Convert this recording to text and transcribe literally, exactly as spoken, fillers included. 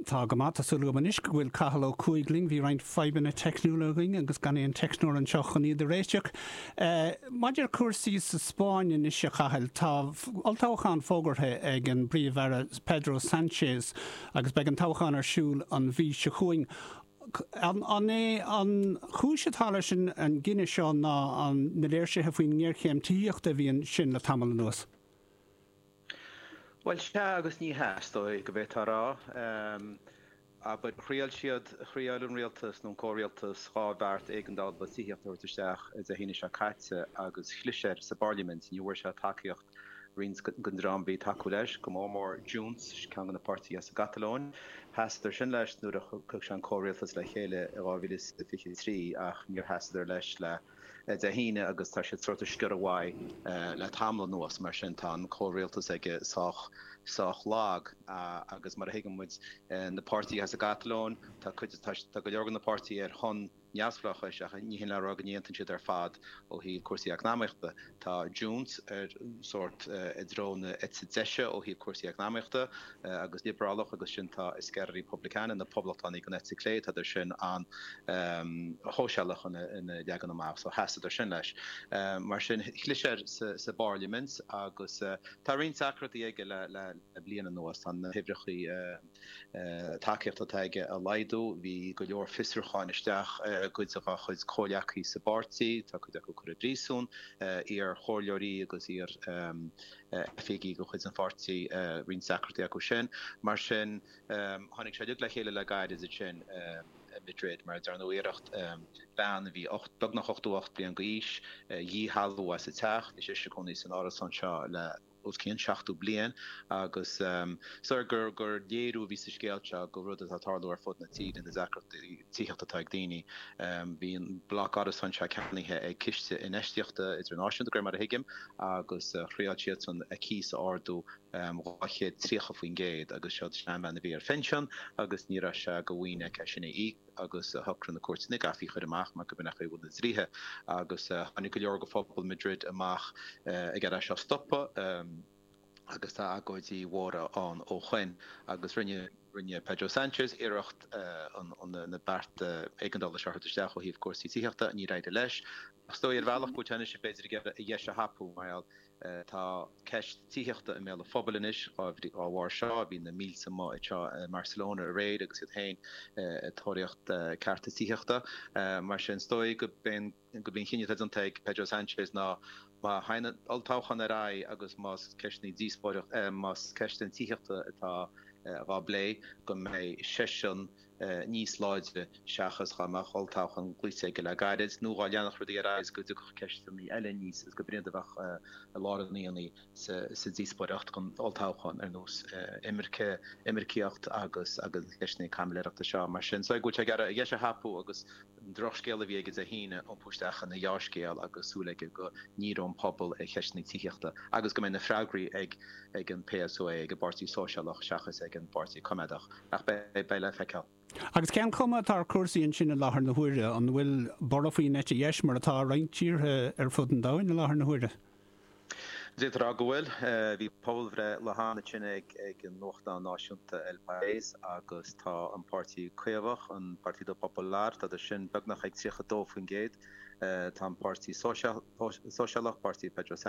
Tá go maith tá súil agam anois go bhfuil Cathal Ó Cuaig linn bhí roinnt fadhbanna teicniúla againn agus gan aon teicneoir anseo chun iad a réiteach. Uh, Maidir cúrsaí sa Spáinn anois a Chathail tá olltoghchán fógartha ag an bPríomh-Aire Pedro Sanchez agus beidh an toghchán ar siúl an mhí seo chugainn. An, an é an chúis atá leis an, an gcinneadh seo ná an na léirsithe faoin ngéarchéim tithíochta a bhíonn sin le tamall anuas. Well sea agus ní hea go bhféadfá a rá. Um, aber thriail siad thriail an rialtas nó comhrialtas dhá bheart éigeandála tithíochta isteach Dé hAoine seo caite agus chlis air sa bparlaimint ní bhfuair sé tacaíocht roinnt den dream a bhí ag tacú leis go mór mór Junts ceann de na páirtithe sa Ghatalóin. Sheasadar sin leis nuair a chuir sé an comhrialtas le chéile i dhá mhíle fiche trí ach níor sheasadar leis le Dé hAoine agus tá siad sort of sciorradh uaidh le tamall anuas mar sin tá an comhrialtas aige sách sách lag agus mar a thuigeann muid na páirtithe as an Ghatalóin tá cuid tá go leor na páirtithe ar shon neamhspleáchais ach ní hin le rá go n-aontaíonn siad ar fad ó thaobh cúrsaí eacnamaíochta. Tá Junts ar sort i dtreo na eite deise ó thaobh cúrsaí eacnamaíochta agus liobrálach agus sin tá Esquerra Republicana na poblachtánaigh an eite chlé tá sin an shóisialach ina leagan amach so sheasadar sin leis. Mar sin chlis air sa, sa bparlaimint agus tá roinnt deacrachtaí aige le, le, le bliain anuas tá na huimhreacha tacaíochta atá aige a laghdú, bhí go leor fiosrúcháin isteach cuid dá chuid comhghleacaithe sa bpáirtí, tá cuid acu curtha i bpríosún, iar-chomhairleoirí agus iar oifigigh de chuid an pháirtí roinnt deacrachtaí acu sin. Mar sin tháinig sé le chéile le gairid sin Madrid mar dearnadh iarracht bean a bhí beagnach ochtó ocht bliain d'aois dhíshealbhú as a teach, bhí sí ina cónaí san árasán seo le os cionn seachtó bliain agus so gur gur léiriú a bhí sa scéal seo go rud atá ag tarlú ar fud na tíre na deacrachtaí tithíochta atá ag daoine. Bhí an bloc árasán seo ceannaithe ag ciste infheistíochta idirnáisiúnta gur mar a thuigim agus thriail siadsan a cíos a ardú dhá chéad tríocha faoin gcéad agus seo seanbhean a bhí ar phinsean agus ní raibh sé de mhaoin aici sin a íoc agus shocraigh na cúirteanna go gcaithfí í a chur amach mar go b'in é na dlíthe agus tháinig go leor de phobal Madrid amach ag iarraidh seo stopadh agus tá agóidí mhóra ann ó shin agus rinne rinne Pedro Sanchez iarracht na bearta éigeandála seo isteach ó thaobh cúrsaí tithíochta níor éirigh leis. Ach is dóigh ar bhealach go bhfuil sé b'fhéidir ag iarraidh a dheis a thapú mar tá ceist tithíochta i mbéal an phobail anois dá bharr seo bhí na mílte amuigh anseo i Barcelona aréir agus iad féin ag tóraíocht cearta tithíochta mar sin is dóigh go b'in go b'in cinneadh déanta ag Pedro Sanchez ná má théann an olltoghchán ar aghaidh agus más ceisteanna díospóireacht más ceist an tithíochta atá á plé go mbeidh seisean níos láidre seachas dá mbeadh olltoghchán glaoite aige le gairid nó dá leanfadh rudaí ar aghaidh go dtiocfadh ceisteanna eile níos is go b'fhéidir a bheadh i lár an aonaigh sa díospóireacht don olltoghchán ar nós imirce imircíocht agus agus ceisteanna caimiléireachta seo mar sin. So go bhfuil sé ag iarraidh a dheis a thapú agus an drochscéal a bhí aige Dé hAoine iompú isteach ina dhea-scéal agus súil aige go ndíreoidh an pobal ar cheisteanna tithíochta agus go mbeidh na freagraí ag ag an PSOE ag an bPáirtí Sóisialach seachas ag an bPáirtí Coimeádach ach beidh le feiceáil. Agus cén chuma atá ar chúrsaí ansin i láthair na huaire an bhfuil borradh faoin eite dheis mar atá roinnt tíortha ar fud an domhain i láthair na huaire. D'fhéadfá a rá go bhfuil bhí pobalbhreith le hana sin ag ag an nuachtán náisiúnta El País agus tá an páirtí Caomhach an Partido Popular tá sin beagnach ag tríocha dó faoin gcéad tá an páirtí sóisialach páirtí Pedro